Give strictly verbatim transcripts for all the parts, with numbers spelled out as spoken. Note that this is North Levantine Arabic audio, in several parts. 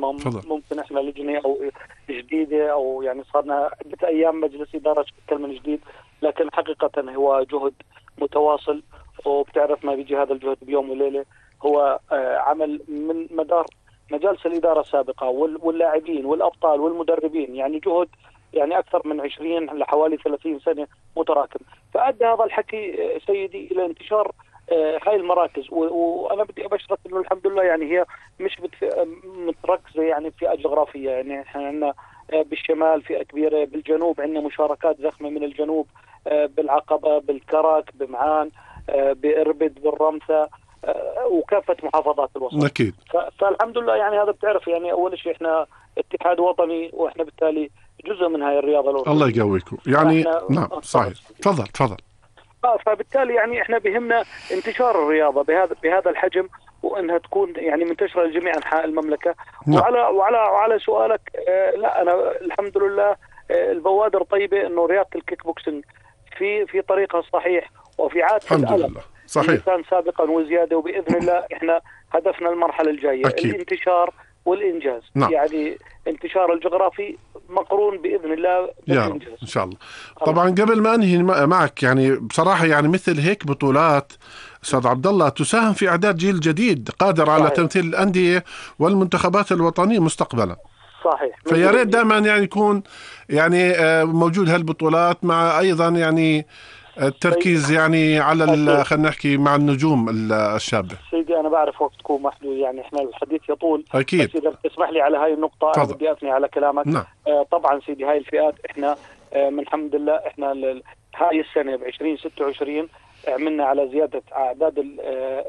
يعني ممكن احنا لجنة او جديدة او يعني صارنا عدة ايام مجلس ادارة شكل من جديد، لكن حقيقة هو جهد متواصل، وبتعرف ما بيجي هذا الجهد بيوم وليلة. هو عمل من مدار مجالس الإدارة السابقة واللاعبين والأبطال والمدربين، يعني جهد يعني أكثر من عشرين لحوالي ثلاثين سنة متراكم. فأدى هذا الحكي سيدي إلى انتشار هاي المراكز، وأنا بدي أبشرك إنه الحمد لله يعني هي مش متركزة يعني فئة جغرافية، يعني إحنا عندنا بالشمال فئة كبيرة، بالجنوب عندنا مشاركات زخمة من الجنوب، بالعقبة، بالكرك، بمعان، بإربد، بالرمثة، وكافة محافظات الوسط. أكيد. فالحمد لله يعني هذا بتعرف يعني أول شيء إحنا اتحاد وطني، وإحنا بالتالي جزء من هاي الرياضة الأردنية. الله يقويكم يعني. نعم صحيح. تفضل تفضل. آه فبالتالي يعني إحنا بهمنا انتشار الرياضة بهذا بهذا الحجم، وإنها تكون يعني منتشرة لجميع أنحاء المملكة. نعم. وعلى وعلى وعلى سؤالك، آه لا أنا الحمد لله آه البوادر طيبة، إنه رياضة الكيك بوكسينج في في طريقها الصحيح وفي عادة الحمد لله صحيح كان سابقا وزيادة، وبإذن الله إحنا هدفنا المرحلة الجاية أكيد. الانتشار والإنجاز. نعم. يعني انتشار الجغرافي مقرون بإذن الله بالإنجاز إن شاء الله. طبعا قبل ما أنهي معك يعني بصراحة يعني مثل هيك بطولات أستاذ عبد الله تساهم في إعداد جيل جديد قادر على صحيح. تمثيل الأندية والمنتخبات الوطنية مستقبلا. صحيح. فيا ريت دائما يعني يكون يعني موجود هالبطولات، مع أيضا يعني التركيز يعني على خلينا نحكي مع النجوم الشابة. سيدي أنا بعرف وقتكم محدود، يعني إحنا الحديث يطول. أكيد. بس إذا تسمح لي على هاي النقطة أنا بدي أثني على كلامك. نعم. آه طبعا سيدي هاي الفئات إحنا آه من الحمد لله إحنا هاي السنة بعشرين ستة وعشرين عملنا على زيادة أعداد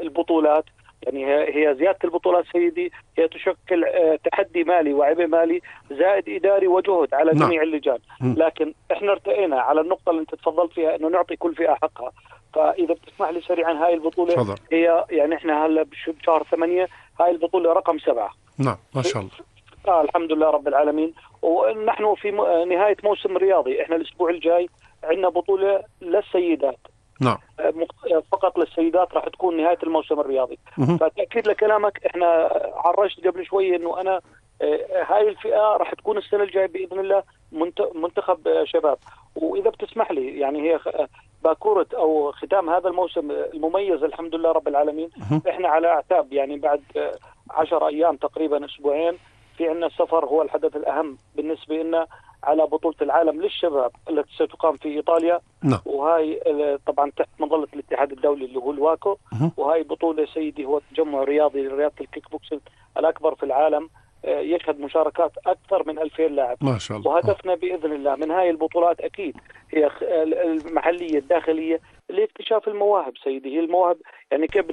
البطولات. يعني هي زيادة البطولات سيدي هي تشكل تحدي مالي وعبء مالي زائد إداري وجهد على نعم. جميع اللجان. لكن احنا ارتقينا على النقطة اللي انت تفضلت فيها، انه نعطي كل فئة حقها. فإذا بتسمح لي سريعا، هاي البطولة فضل. هي يعني احنا هلا بشهر ثمانية، هاي البطولة رقم سبعة. نعم ما شاء الله. آه الحمد لله رب العالمين. ونحن في نهاية موسم رياضي، احنا الأسبوع الجاي عندنا بطولة للسيدات. نعم. فقط للسيدات راح تكون نهاية الموسم الرياضي. فتأكيد لكلامك، احنا عرجت قبل شوية انه انا هاي الفئة راح تكون السنة الجاية بإذن الله منتخب شباب. وإذا بتسمح لي يعني هي باكورة أو ختام هذا الموسم المميز الحمد لله رب العالمين. احنا على اعتاب يعني بعد عشر أيام تقريبا أسبوعين في عنا السفر، هو الحدث الأهم بالنسبة لنا على بطولة العالم للشباب التي ستقام في إيطاليا. نعم. وهاي طبعا تحت مظلة الاتحاد الدولي اللي هو الواكو. وهاي بطولة سيدي هو تجمع رياضي لرياضة الكيك بوكسينج الأكبر في العالم، يشهد مشاركات أكثر من ألفين لاعب ما شاء الله. وهدفنا بإذن الله من هاي البطولات أكيد هي المحلية الداخلية لاكتشاف المواهب سيدي. هي المواهب يعني كيف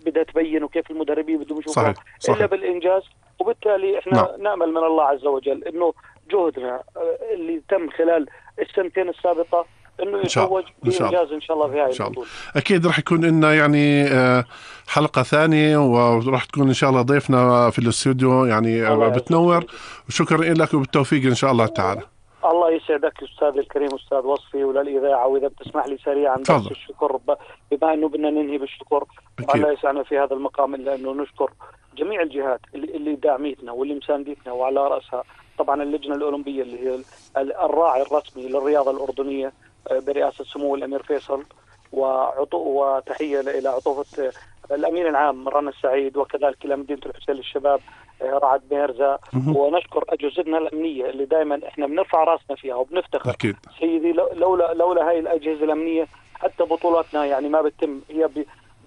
بدها تبين وكيف المدربين بدهم يشوفوها إلا بالإنجاز. وبالتالي إحنا نعم. نأمل من الله عز وجل إنه جهدنا اللي تم خلال السنتين السابقة إنه يتوج بإنجاز إن شاء الله في هاي البطولة. أكيد رح يكون لنا يعني حلقة ثانية، ورح تكون إن شاء الله ضيفنا في الاستوديو يعني بتنور. وشكرا لك وبالتوفيق إن شاء الله تعالى. الله يسعدك أستاذ الكريم أستاذ وصفي وللإذاعة. وإذا بتسمح لي سريعا بس الشكر، بما أنه بدنا ننهي بالشكر. الله يسعدنا في هذا المقام إلا أنه نشكر جميع الجهات اللي داعمتنا واللي مساندتنا، وعلى رأسها طبعا اللجنة الأولمبية اللي هي الراعي الرسمي للرياضة الأردنية برئاسة سمو الأمير فيصل، وتحية إلى عطوفة الأمين العام رنا السعيد، وكذلك إلى مدينة الحسين للشباب رعد ميرزا. ونشكر أجهزتنا الأمنية اللي دائما إحنا بنرفع راسنا فيها وبنفتخر. أكيد. سيدي لولا لولا هاي الأجهزة الأمنية حتى بطولاتنا يعني ما بتتم هي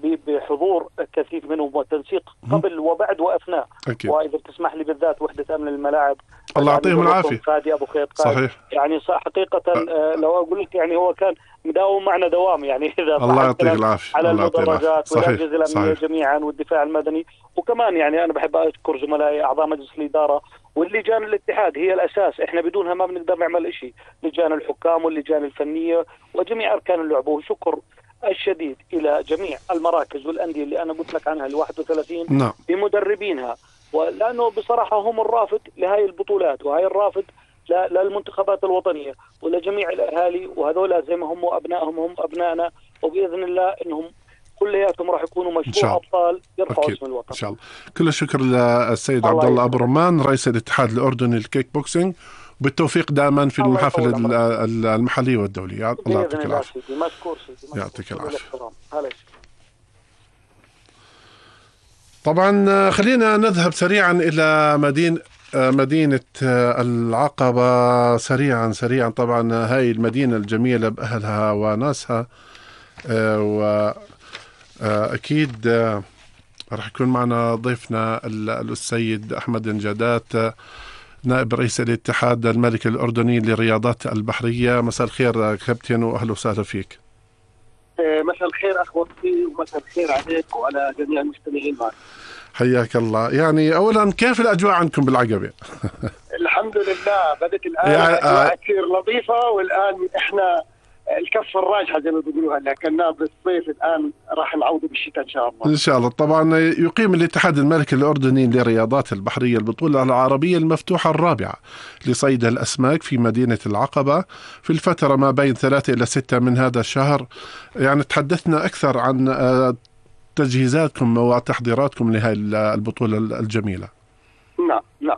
بحضور كثير منهم وتنسيق قبل وبعد وأثناء. أكيد. وإذا بتسمح لي بالذات وحدة أمن الملاعب الله يعطيهم العافية فادي أبو خيط. صحيح. يعني حقيقة أه. لو أقول لك يعني هو كان مداوم معنا دوام يعني إذا الله يعطيك العافية على المدرجات والأجهزة الأمنية صحيح. جميعا والدفاع المدني. وكمان يعني أنا بحب أشكر زملائي أعضاء مجلس الإدارة واللجان الاتحاد، هي الأساس، إحنا بدونها ما بنقدر نعمل إشي. لجان الحكام واللجان الفنية وجميع أركان اللعبة. وشكر الشديد إلى جميع المراكز والأندية اللي أنا قلت لك عنها الواحد وثلاثين نعم. بمدربينها، ولأنه بصراحة هم الرافد لهاي البطولات وهاي الرافد للمنتخبات الوطنية ولجميع الأهالي. وهذول زي ما هم أبنائهم هم أبنائنا، وبإذن الله إنهم كلياتهم راح يكونوا مشروع ابطال يرفعوا اسم الوطن ان شاء الله. كل الشكر للسيد عبد الله ابو رمان رئيس الاتحاد الاردني للكيك بوكسينج، بالتوفيق دائما في المحافل المحليه والدوليه. الله يعطيك العافيه. يعطيك العافيه. طبعا خلينا نذهب سريعا الى مدينه مدينة العقبة سريعا سريعا. طبعا هاي المدينة الجميلة بأهلها وناسها، وأكيد رح يكون معنا ضيفنا السيد أحمد نجادات نائب رئيس الاتحاد الملكي الأردني للرياضات البحرية. مساء الخير كابتن وأهلا وسهلا فيك. مساء الخير أخ وفي، ومساء الخير عليك وعلى جميع المستمعين معك. حياك الله. يعني أولا كيف الأجواء عندكم بالعقبة؟ الحمد لله بدت الآن أجواء كثير لطيفة، والآن إحنا الكفة الراجحة زي ما بيقولوا هلا كنا بالصيف، الآن راح نعوض بالشتاء إن شاء الله. إن شاء الله. طبعا يقيم الاتحاد الملكي الأردني للرياضات البحرية البطولة العربية المفتوحة الرابعة لصيد الأسماك في مدينة العقبة في الفترة ما بين ثلاثة إلى ستة من هذا الشهر. يعني تحدثنا أكثر عن تجهيزاتكم وتحضيراتكم لهذه البطولة الجميلة. نعم نعم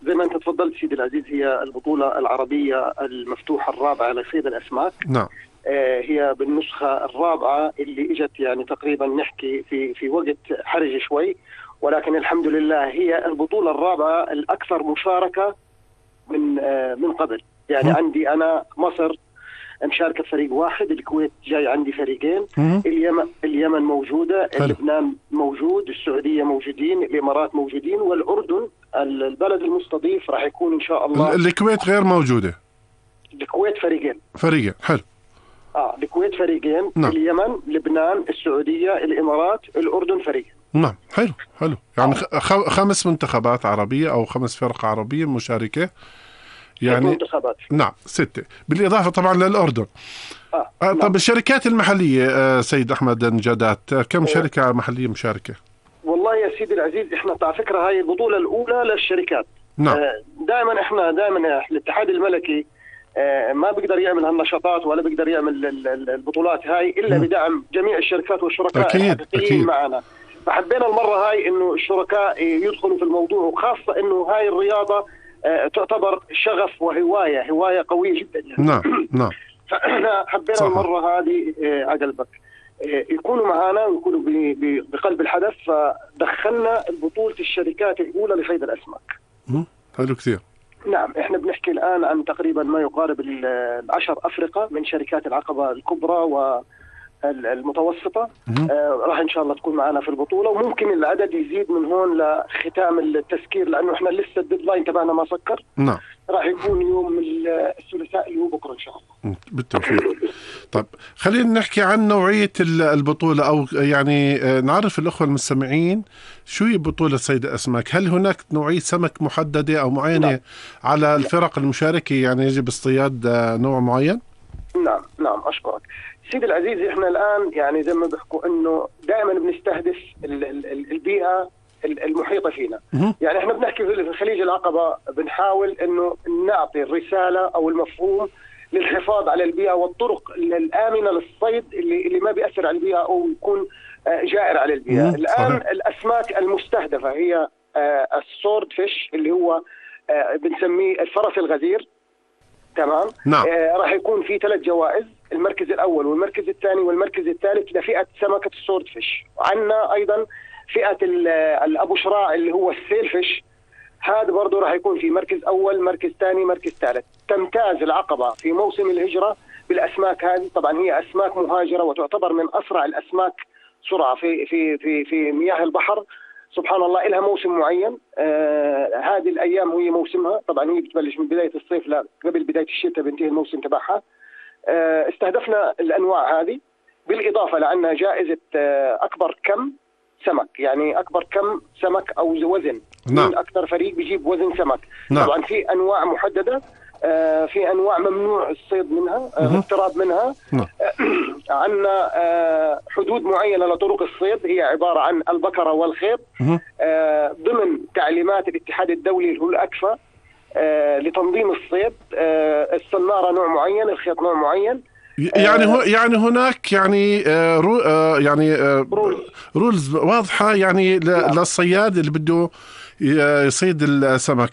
زي ما أنت تفضلت سيدي العزيز، هي البطولة العربية المفتوحة الرابعة لصيد الأسماك. نعم. آه هي بالنسخة الرابعة اللي اجت يعني تقريبا نحكي في في وقت حرج شوي، ولكن الحمد لله هي البطولة الرابعة الأكثر مشاركة من آه من قبل. يعني م. عندي أنا مصر مشاركة فريق واحد، الكويت جاي عندي فريقين، اليمن اليمن موجودة، حلو. لبنان موجود، السعودية موجودين، الإمارات موجودين، والأردن البلد المستضيف راح يكون إن شاء الله. الكويت غير موجودة. الكويت فريقين. فريقين حلو. آه الكويت فريقين، نعم. اليمن، لبنان، السعودية، الإمارات، الأردن فريق. نعم حلو حلو. يعني آه. خمس منتخبات عربية أو خمس فرق عربية مشاركة. يعني منتخبات. نعم ستة بالإضافة طبعا للأردن. آه. آه طب نعم. الشركات المحلية آه سيد أحمد نجادات كم آه. شركة محلية مشاركة؟ والله يا سيدي العزيز احنا على فكرة هاي البطولة الأولى للشركات. نعم. آه دائما احنا دائما الاتحاد الملكي آه ما بيقدر يعمل هالنشاطات ولا بيقدر يعمل البطولات هاي إلا م. بدعم جميع الشركات والشركاء الحقيقيين معنا. فحبينا المرة هاي إنه الشركاء يدخلوا في الموضوع، وخاصة إنه هاي الرياضة تعتبر شغف وهواية هواية قوية جدا يعني. نعم نعم. فإحنا حبينا صحيح. المرة هذه عقلبك يكونوا معنا ويكونوا بقلب الحدث، فدخلنا البطولة الشركات الأولى لصيد الأسماك. حلو كثير. نعم احنا بنحكي الآن عن تقريبا ما يقارب العشر أفرقة من شركات العقبة الكبرى و المتوسطة. آه راح إن شاء الله تكون معنا في البطولة، وممكن العدد يزيد من هون لختام التسكير، لأنه إحنا لسه الديدلاين تبعنا ما سكر. نعم. راح يكون يوم الثلاثاء اللي هو بكرة إن شاء الله. بالتوفيق. طيب خلينا نحكي عن نوعية البطولة، أو يعني نعرف الأخوة المستمعين شو هي بطولة صيد الأسماك. هل هناك نوعية سمك محددة أو معينة؟ نعم. على الفرق المشاركة يعني يجب اصطياد نوع معين؟ نعم نعم أشكرك سيدي العزيز. احنا الآن يعني زي ما بحكوا انه دائما بنستهدف البيئة المحيطة فينا. يعني احنا بنحكي في خليج العقبة بنحاول انه نعطي الرسالة او المفهوم للحفاظ على البيئة والطرق الآمنة للصيد اللي اللي ما بيأثر على البيئة او يكون جائر على البيئة. الآن الأسماك المستهدفة هي السورد فيش اللي هو بنسميه الفرس الغزير. تمام. نعم. آه راح يكون في ثلاث جوائز، المركز الأول والمركز الثاني والمركز الثالث لفئة سمكة السورد فيش. وعندنا أيضا فئة الأبو شراع اللي هو السيل فيش، هذا برضه راح يكون في مركز أول، مركز ثاني، مركز ثالث. تمتاز العقبة في موسم الهجرة بالأسماك هذه. طبعا هي أسماك مهاجرة وتعتبر من أسرع الأسماك سرعة في في في في مياه البحر. سبحان الله لها موسم معين. آه هذه الأيام هي موسمها، طبعا هي بتبلش من بداية الصيف لا قبل بداية الشتاء بنتهي الموسم تبعها. آه استهدفنا الأنواع هذه، بالإضافة لأنها جائزة آه أكبر كم سمك، يعني أكبر كم سمك أو وزن. نعم. من أكثر فريق بيجيب وزن سمك. نعم. طبعا في أنواع محددة، آه في أنواع ممنوع الصيد منها، الاقتراب منها. نعم. آه عندنا آه حدود معينة لطرق الصيد، هي عبارة عن البكرة والخيط. آه ضمن تعليمات الاتحاد الدولي اللي هو الأكفا آه لتنظيم الصيد. آه السنارة نوع معين، الخيط نوع معين. يعني هو يعني هناك يعني آه رو آه يعني آه رولز واضحة يعني للصياد اللي بده يصيد السمك.